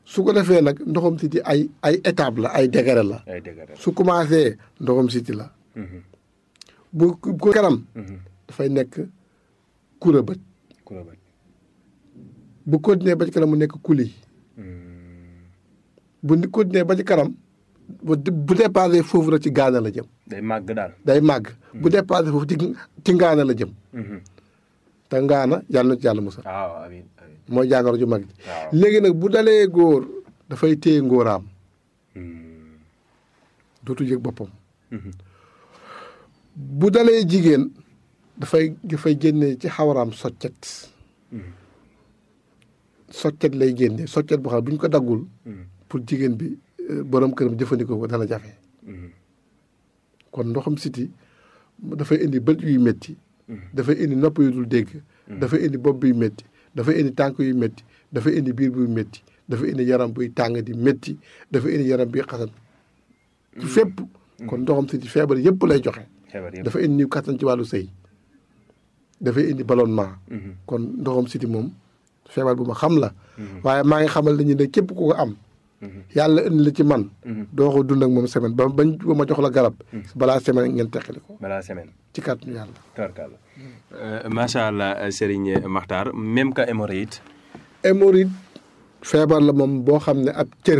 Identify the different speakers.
Speaker 1: su ko defee nag ndoxam siti ay étape la ay degré la. su commencé ndoxam siti la. bu ko kanam. dafay nekk kura bët. bu continuer ba ci kanam mu nekk kuli. bu continuer ba ci kanam bu dépassé foofu rek ci gaana la jëm.
Speaker 2: day màgg daal.
Speaker 1: day màgg. bu dépassé foofu ci ngaana la jëm. te ngaana yàlla na ci yàlla musal.
Speaker 2: waaw amiin amiin.
Speaker 1: mooy jàngoro ju mag ji. léegi nag bu dalee góor dafay téye ngóoraam. dootu yëg boppam. bu dalee jigéen dafay génne ci xawaraam soccet. soccet lay génne soccet boo xam bu ñu ko daggul. pour jigéen bi borom këram jëfandikoo ko dana jafe. kon ndoxam siti dafay indi bët yuy métti. dafay indi nopp yu dul dégg. dafay indi bopp buy métti. dafay indi tànk yu métti. dafay indi biir buy métti. dafay indi yaram buy tàng di métti. dafay indi yaram buy xasan. ci fépp. kon ndoxam siti feebar yëpp lay joxe. dafa indi niw kattan ci wàllu sëy. dafay indi ballonnement. kon ndoxam siti moom feebar bu ma xam la. waaye maa ngi xamal nañu ne képp ku ko am. yàlla indi la ci man. doo ko dund ak moom semaine ba ma jox la garab. balaa semaine ngeen teqali ko.
Speaker 2: balaa semaine.
Speaker 1: ci kàttanu yàlla.
Speaker 2: tarkalla. macha allah Serigne Makhtar même que hémorroïde.
Speaker 1: hémorroïde feebar la moom boo xam ne ab cër